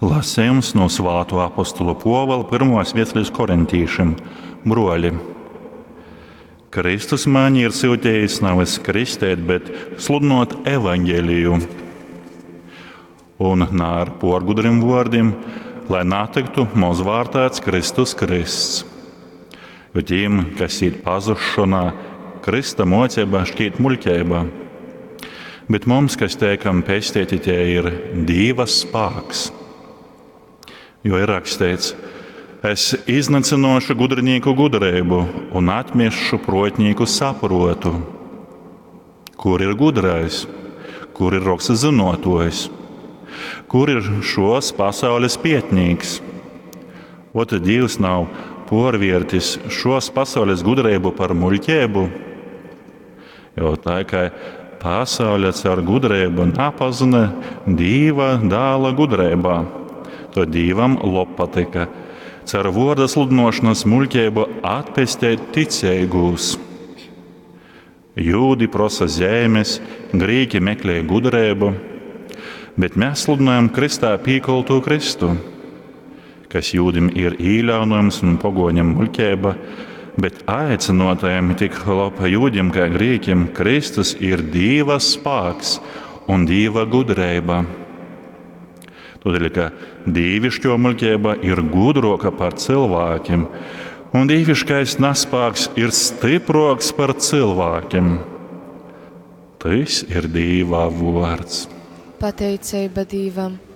Lasejums no Svāto apostula Pōvula pirmās vēstules korintīšim. Broļi, Kristus mani ir syutījis nevis kristēt, bet sludinot evaņģēliju. Un ne ar porgudriem vārdiem, lai natiktu mozvārtēts Kristus Krists. Jo tiem, kas īt pazušanā, Krista mocība šķiet muļķība. Bet mums, kas teikam pestīti, tie ir Dieva spēks. Jo ir rakstīts, es iznīcināšu gudrinieku gudrību un atmiešu protnieku saprotu. Kur ir gudrais? Kur ir roksa zinotojs? Kur ir šos pasaules pietnīgs? Ot, Dievs nav porviertis šos pasaules gudrību par muļķību, jo tā kā pasaule caur gudrību napazina Dieva dāla gudrībā, to Dievam lobpatika caur vārda sludinošanas muļķību atpestēt ticīgos. Jūdi prosa zemes, grīķi meklē gudrību, bet mēs sludinājam Kristā pīkolto Kristu, kas jūdim ir īļaunojums un pogoņam muļķība, bet aicinotajiem tik lapa jūdim kā grīķim Kristus ir Dieva spēks un Dieva gudrība. Tādēļ, ka dievišķo muļķība ir gudroka par cilvēkiem, un dieviškais nespēks ir stiproks par cilvēkiem. Tas ir Dieva vārds. Pateicība Dievam!